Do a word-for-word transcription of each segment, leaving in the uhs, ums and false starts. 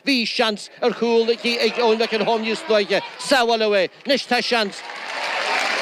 Bhí seans ar chúl ag Eoin McElholm níos luaithe. Sábháladh é. Anois tá seans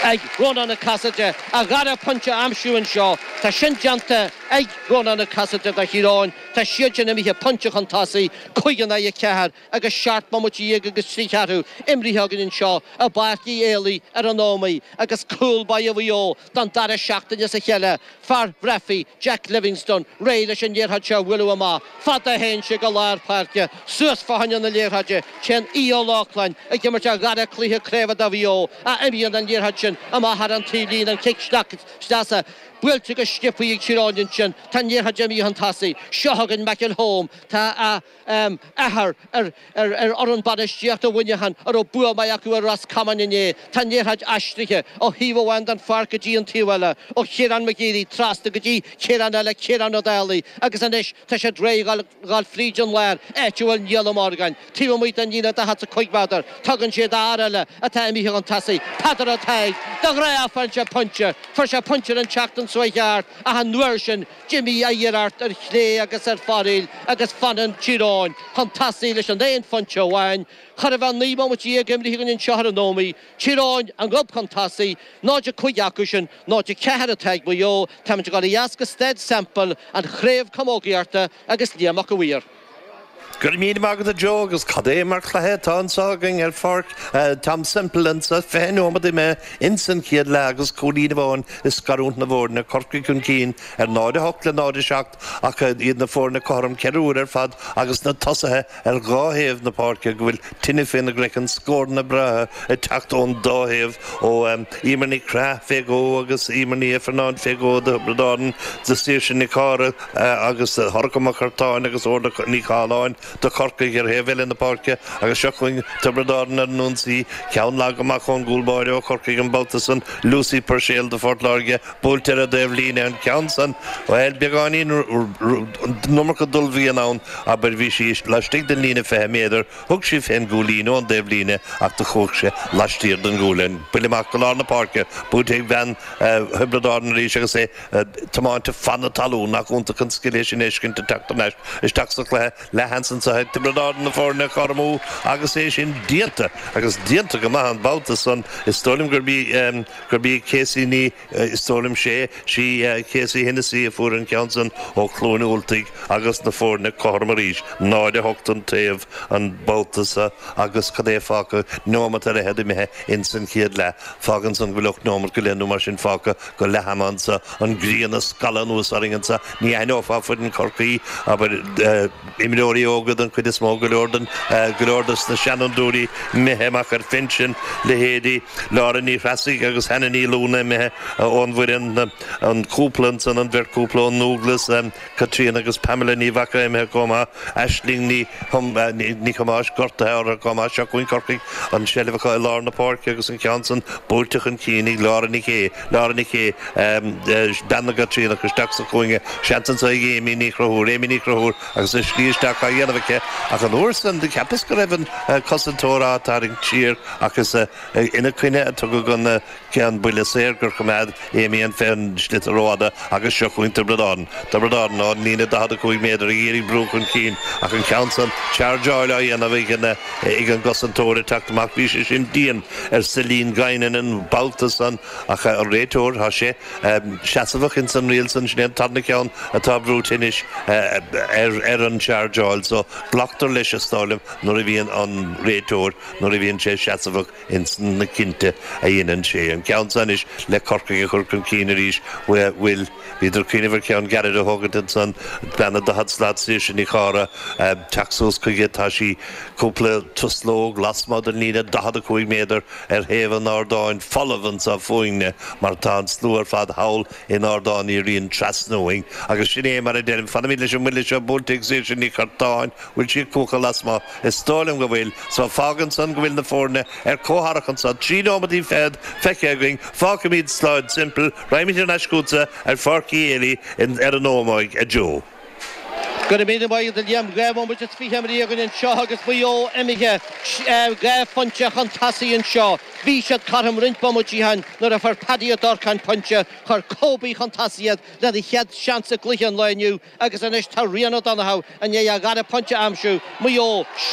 ag Rónán Cassidy a dhara pointe a aimsiú anseo. Tá sin déanta ag Rónán Cassidy do Thír Eoghain. Tá siad sin imithe pointe chun tosaigh, cúig in aghaidh a ceathair agus seacht mbomaite dhéag agus trí cheathrú imrithe againn anseo i bPáirc Uí Éalaí ar an Ómaigh agus cúl báire Mhaigh Eo don dara seachtain as a chéile, fear Bhreafaí, Jack Livingstone, réidh leis an liathróid seo a bhualadh amach. Fad a théann sé go lár páirce, suas fá choinne na liathróide, téann Aodh Ó Lochlainn ag imirt a dhara cluiche craoibhe do Mhaigh Eo, ach imíonn an liathróid sin amach thar an taobhlíne, an cic sleasa buailte go sciobtha ag Tír Eoghain ansin, tá an liathróid imithe chun tosaigh. Seo chugainn McElholm, tá a athair ar fhoireann bainistíochta Mhuineacháin a raibh bua maith acu ar Ros Comáin inné. Tá an liathróid aistrithe ó thaobh amháin den pháirc go dtí an taobh eile, ó Chiarán McGeary trasna go dtí Ciarán eile, Ciarán Ó Dálaigh, agus anois tá siad réidh a dhul fríd an lár, áit a bhfuil Niall Ó Morgáin, taobh amuigh den líne daichead is a cúig méadar. Tugann sé d'fhear eile atá imithe chun tosaigh, Peadar Ó Tadhg, de ghnáth faigheann sé pointe. Fuair sé pointe ar an tseachtain seo chuaigh thart ach an uair sin d'imigh a iarracht ar chlé agus ar foraíl agus fanann Tír Eoghain chun tosaigh leis an aon phointe amháin. Chóir a bheith naoi mbomaite dhéag imrithe againn anseo ar an Ómaigh. Tír Eoghain a ngob chun tosaigh, náid a cúig acu sin, náid a ceathair atá ag Maigh Eo. Táimid ag dul ó dheas go Staid Semple, an chraobh camógaíochta agus Liam Mac a' Mhaoir. Go raibh míle maith agat a Joe agus cad é mar chluiche atá anseo againn ar pháirc Tom Semple anseo, fiche nóiméad imithe ins an chéad leath agus cúilín amháin ag scarúint na bhfoirne, Corcaigh chun cinn ar náid a hocht le náid a seacht ach iad na foirne cothrom ceithre huaire ar fad agus na tosaithe ar dhá thaobh na páirce go bhfuil tine faoina gcraiceann, scóranna breátha ag teacht ón dá thaobh ó Emer Ní Chraith fé dhó agus Emer Ní Ifearnáin fé dhó do Thiobraid Árann, do Saoirse Nic Cára agus Shorcha Mac Curtáin agus Orla Ní Chathalláin do Chorcaigh ar thaobh eile na páirce agus seo chugainn Tiobraid Árann ar an ionsaí, ceann lag amach ón gcúl báire ó Chorcaigh an babhta san, Lucy Puirséil do Phort Láirge, buailte ar an dtaobhlíne, an ceann san, bhuel, beagáinín an iomarca d'ullmhaíonn ann, abair, bhí sí laistigh den líne fiche méadar, thug sí fén gcúilín ón dtaobhlíne ach do chuaigh sé laistiar den ghualainn. Buille amach go lár na páirce, buailte ag bean Thiobraid Árann arís agus é tiomáinte fan na talún, nach iontach an scil é sin a fheiscint ag teacht thar n-ais isteach sa chluiche, leathsheans anseo ag Tiobraid Árann na foirne a chothromú agus é sin déanta agus déanta go maith an babhta san. Is dóigh liom gurb í gurb í Casey Ní is dóigh liom sé sí Casey Hennessy a fuair an ceann san ó Chluain Ultaigh agus na foirne cothrom arís, náid a hocht an taobh an babhta so agus cad é fágtha, neomat ar fhichead imithe ins an chéad leath. Fágann san go bhfuil ocht neomat go leith nó mar sin fágtha go leath ama anso, an ghrian ag scalladh anuas orainn anso, ní aithneofá foireann Chorcaí, abair, imreoirí óga den chuid is mó, go leor den, go leor dos na seanfhondúirí imithe amach ar phinsean, leithéidí Laura Ní Threasaigh agus Hannah Ní Lúna imithe ón bhfoireann, an cúpla ansan, an bheirt chúpla ón nDúglas, Caitríona agus Pamela Ní Mhaca imithe chomh maith, Aisling Ní Ní Thomáis gortaithe orthu chomh maith. Seo chugainn Corcaigh, an tseilbh acu i lár na páirce agus an ceann san buailte chun cinn ag Laura Nic Aodha, Laura Nic Aodha, bean na gCaitríonach isteach sa chúinne, seans anso ag Amy Ní Chonchúir, Amy Ní Chonchúir agus a slí isteach á dhéanamh aici ach an uair san do cheapas go raibh an cosantóir á tarraingt siar ach is ina coinne a tugadh an ceann buille saor gur choimeád Amy an sliotar rófhada agus seo chugainn Tiobraid Árann. Tiobraid Árann ón líne daichead a cúig méadar ag iarraidh brú chun cinn ach an ceann san chargeáil á dhéanamh ag an ag an gcosantóir ag teacht amach. Bhí sé sin dian ar Celine Guinan an babhta san ach an réiteoir tá sé seasamhach ins an riail san. Sin é an tarna ceann atá brúite anois ar ar an chargeáil so glactar leis is dóigh liom nuair a bhíonn an réiteoir nuair a bhíonn sé seasamhach ins na cinnte a dhéanann sé. An ceann seo anois le Corcaigh a chur chun cinn arís, bhuel, bhíodar ag cuimhneamh ar cheann gairid a thógaint ansan, bean na daichead slat, Saoirse Ní Charra, teacht suas chuige, tá sí cúpla truslóg lasmuigh den líne daichead a cúig méadar ar thaobh an ardáin folamh anso fúinne mar tá an slua ar fad thall in Ardán Uí Riain trasna uainn. Agus sin é mar a deirim, fanaimid leis an mbuille seo buailte ag Saoirse Ní Churtáin, bhfuil sí ag cuachadh lasmuigh? Is dóigh liom go bhfuil. So fágann san go bhfuil na foirne ar comhtharrac anso. Trí nóimeadaí fichead feicthe againn. Fágfaimid Staid Semple. Raghaimid thar n-ais chugatsa ar Pháirc Uí Éilí ar an Ómaigh, a Joe. Go raibh míle maith agat a Liam. Dhá bhomaite is fiche imithe againn anseo agus Maigh Eo imithe dhá phointe chun tosaigh anseo. Bhí siad cothrom roinnt bomaití ó shin nuair a fuair Paddy Ó Durcáin pointe. Chuir Kobe chun tosaigh iad lena chéad seans i gcluiche an lae inniu agus anois tá Rian O'Donoghue i ndiaidh a dhara pointe a aimsiú. Maigh Eo.